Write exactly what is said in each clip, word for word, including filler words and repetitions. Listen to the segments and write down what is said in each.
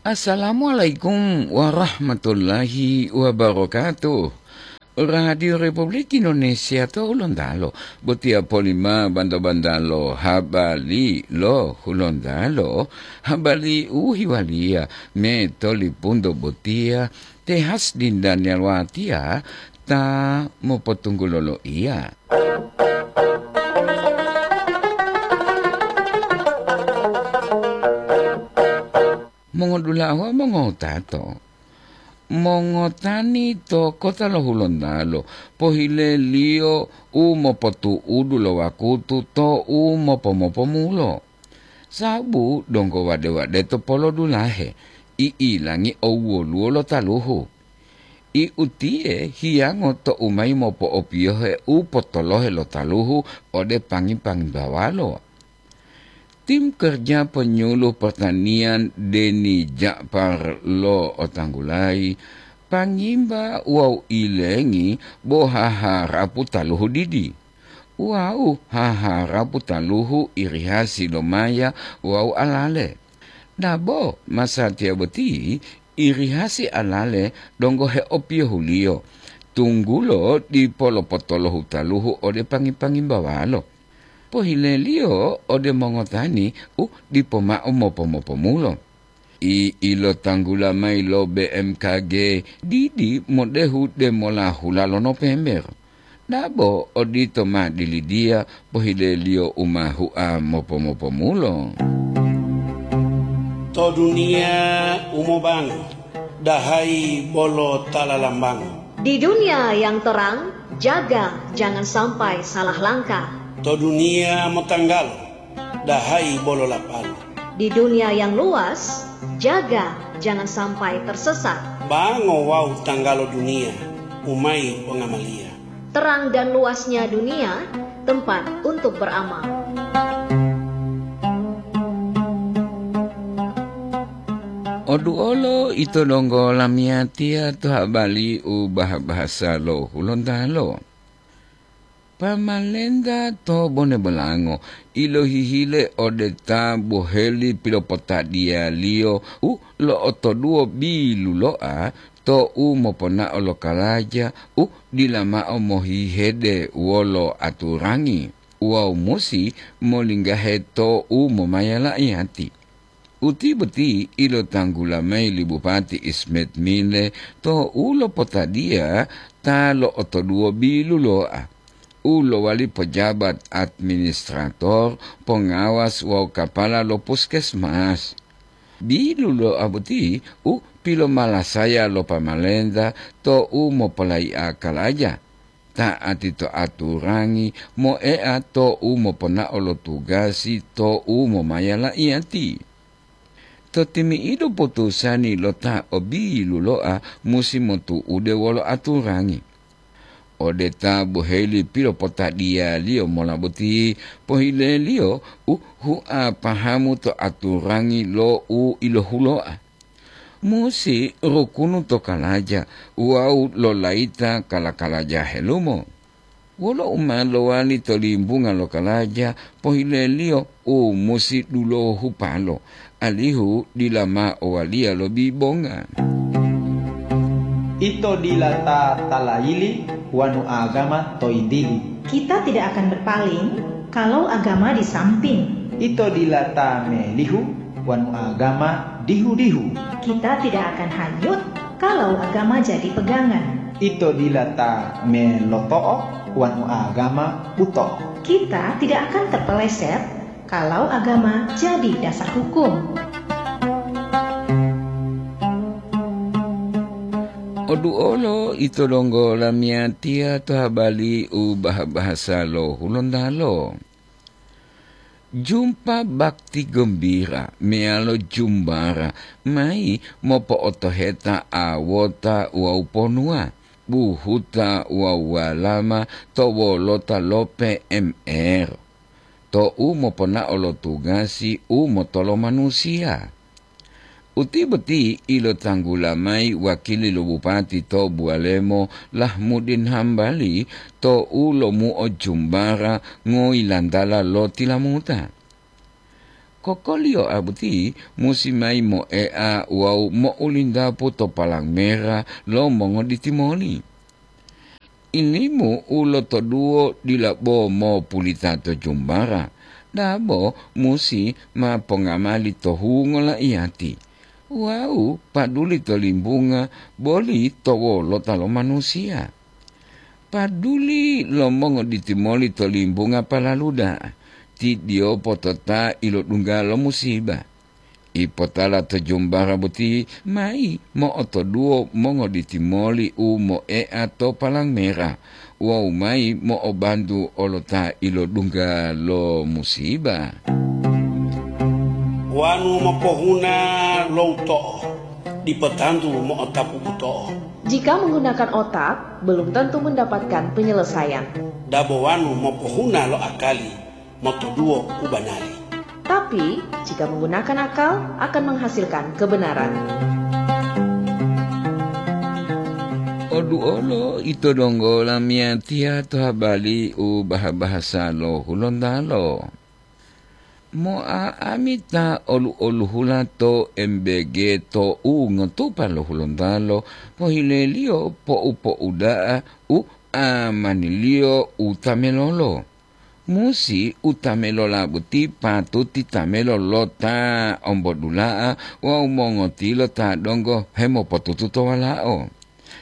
Assalamualaikum warahmatullahi wabarakatuh. Radio Republik Indonesia to Hulontalo, botiya polima banta-bantalo habari lo Hulontalo, habari u hiwaliya me tolipunto botiya te Hasdin Daniel Watiya ta mopotunggulo loiya. Mongodula'a wawu mongotato, mongotani to kota lo Hulontalo pohileliyo u mopotu'udu lo wakutu to u mopomopomulo. Sabu donggo wade-wade to polodulahe, i'ilangi owwoluwo lo taluhu. I utiye hiyango to u mayi mopo'opiyohe u potolohe lo taluhu ode pangi-pangi bawalo. Tim kerja penyuluh pertanian Deni Ja'far lo otanggulayi, pangimba wawu ilengi bo haharapu taluhu didi, wawu haharapu taluhu irihasi lo maya wawu alale. Dabo masatiya boti irihasi alale donggo heopiyohuliyo, tunggulo dipo lopotolohu taluhu ode pangi-pangi bawalo. Pohileliyo ode mongotani u dipo mao mopo-mopomulo. I ilotanggula mayi lo B M K G didi modehu demola hula lo Nopember. Dabo odito ma dilidiya pohileliyo u ma hua mopo-mopomulo. To duniya u mobango, dahayi bolo ta lalambango. Di dunia yang terang, jaga jangan sampai salah langkah. To duniya motanggalo, dahayi bolo lapalo. Di dunia yang luas, jaga jangan sampai tersesat. Bango wawu tanggalo duniya, u mayi pongamaliya. Terang dan luasnya dunia, tempat untuk beramal. Oduolo ito donggo lamiyatiya to habari u bah-bahasa lo Hulontalo. Pamalenta to Bone Bolango ilohihile ode ta boheli pilopotadiyaliyo u lo'otoduwo bilulo'a to u moponao lo kalaja u dila mao mohihede wolo aturangi wawu musi molinggahe to u momaya la'iyati. Uti boti ilotanggula mayi li Bupati Ismet Mile to u lopotadiya ta lo'otoduwo bilulo'a, u lowali pejabat administrator, pongawas wawu kapala lo puskesmas. Bilulo'a boti u pilomalasaya lo pamalenta to u mopolayi'a kalaja, ta'ati to aturangi, moea to u moponao lo tugasi to u momaya la'iyati. To timi'idu putusani lo ta o bilulo'a musi motu'ude wolo aturangi. Ode ta boheli pilopotadiyaliyo mola boti, pohileliyo u hua pahamu to aturangi lo u ilohulo'a. Musi rukunu to kalaja wawu lolayita kala-kalaja helumo. Wolo u ma lowali to limbunga lo kalaja, pohileliyo u musi dulohupalo, alihu dila ma owaliya lo bibonga. Ito dila ta talayili wanu agama to yintili. Kita tidak akan berpaling kalau agama di samping. Ito dila ta melihu wanu agama dihu-dihu. Kita tidak akan hanyut kalau agama jadi pegangan. Ito dila ta meloto'o wanu agama buto'o. Kita tidak akan terpeleset kalau agama jadi dasar hukum. Oduolo ito donggo lamiyatiya to habari u bah-bahasa lo Hulontalo. Jumpa bakti gembira meyalo jumbara mayi mopo'otoheta awota wawu ponuwa, buhuta wawu walama to wolota lo P M R, to u moponao lo tugasi u motolo manusiya. Uti boti ilotanggula mayi wakili lo bupati to Buwalemo, Lahmudin Hambali, to u lomuo jumbara ngoyilantala lo tilamuta. Kokoliyoa boti musi mayi moea wawu mo'ulindapu to palang mera lo mongoditi moli. Ilimu u lotoduwo dila bo mopulita to jumbara, dabo musi ma pongamali to hungo laiyati, wawu paduli to limbunga boli to wolota lo manusiya. Paduli lo mongoditi moli to limbunga palalu da'a, ti diyopo to ta ilodungga lo musiba. Ipotala to jumbara boti mayi mo'otoduwo mongoditi moli u moea to palang mera wawu mayi mo'obantu olo ta ilodungga lo musiba. Wanu mopohuna lo uto'o, dipo tantu mo'otapu buto'o. Jika menggunakan otak, belum tentu mendapatkan penyelesaian. Dabo wanu mopohuna lo akali, motoduwo u banari. Tapi, jika menggunakan akal, akan menghasilkan kebenaran. Oduolo ito donggo lamiyatiya to habari u baha-bahasa lo Hulontalo. Mo'a'amita olu-oluhula to M B G to u ngotupa lo Hulontalo, pohileliyo po'u-po'uda'a u amaniliyo u tamelolo. Musi u tamelola boti patuti tamelo lo ta ombodula'a wawu mongotilo ta donggo hemopotutu to walao.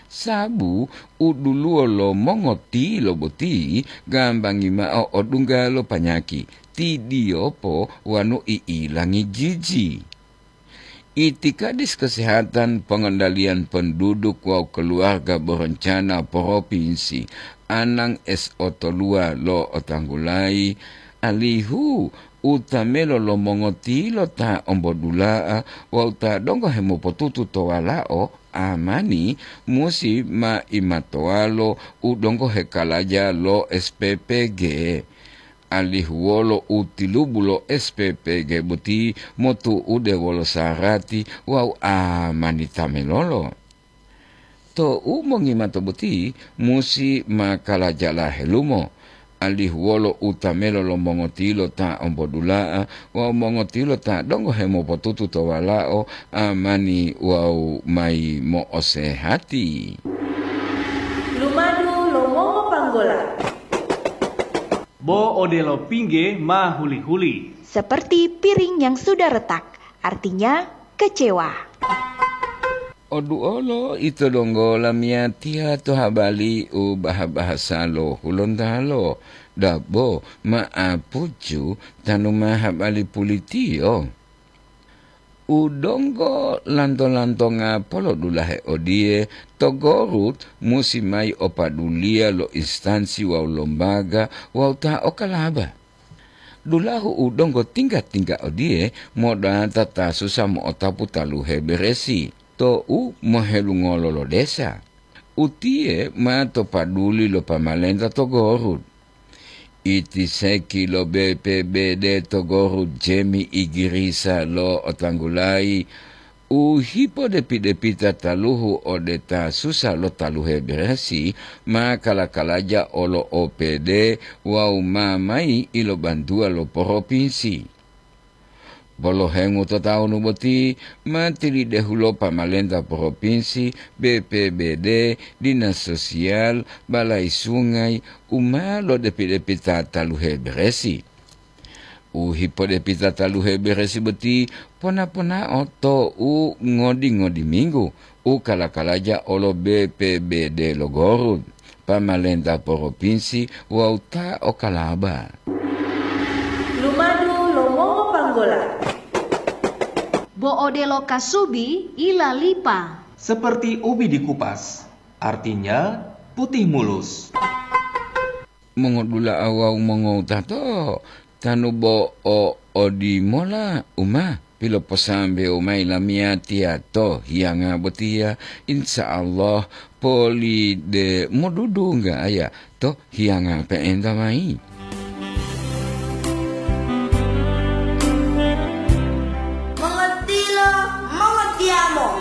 Sabu u duluwo lo mongotilo boti gambangi mao odungga lo panyaki, ti diyopo wanu i'ilangi jiji. Itikadis Kesehatan Pongondaliyan Penduduk wawu Keluarga Berencana Propinsi Anang S O Tolua lo otanggulayi, alihu u tamelo lo mongotilo ta ombodula'a wawu ta donggo hemopotutu to walao amani musi ma imatowalo u donggo hekalaja lo S P P G. Alihu wolo u tilubu lo S P P G boti motu'ude wolo sarati wawu amani tamelolo. To u mongimato boti musi ma kalajala helumo, alihu wolo u tamelo lo mongotilo ta ombodula'a wawu mongotilo ta donggo hemopotutu to walao amani wawu mayi mo'osehati. Lumadu lo mongopanggola. Bo odelo pingge ma huli-huli. Seperti piring yang sudah retak, artinya kecewa. Oduolo ito donggo lamiyatiya to habari u baha-bahasa lo Hulontalo, dabo ma'apucu tanu ma habari pulitiyo. U donggo lanto-lantonga polodulahe odiye, to Gorut musi mayi o paduliya lo instansi wawu lombaga wawu ta okalaba. Dulahu u donggo tingga-tingga odiye modata ta susa mo'otapu taluhe beresi to u mohelungolo lo desa. Utiye ma to paduli lo pamalenta to Gorut. Itiseki lo B P B D to Gorut Jemi Igirisa lo otanggulayi u hipodepi-depita taluhu ode ta susa lo taluhe beresi ma kala-kalaja olo O P D wawu ma mayi ilobantuwa lo poropinsi. Bolo hengu to tawunu boti ma tilidehulo pamalenta poropinsi, B P B D, dinas sosial, balai sungai, u ma lodepi-depita taluhe beresi. U hipodepita taluhe beresi boti pona-ponao to u ngodi-ngodi minggu u kala-kalaja olo B P B D lo Gorut, pamalenta poropinsi wawu ta okalaba. Lumadu lo mongopanggola. Bo odelo kasubi ilalipa. Seperti ubi dikupas, artinya putih mulus. Mongodula'a wawu mongowutato, tanu bo o odimola u ma piloposambewo mayi lamiyatiya to hiyanga botiya, insya Allah poli de modudungga aya to hiyanga pe'enta mayi.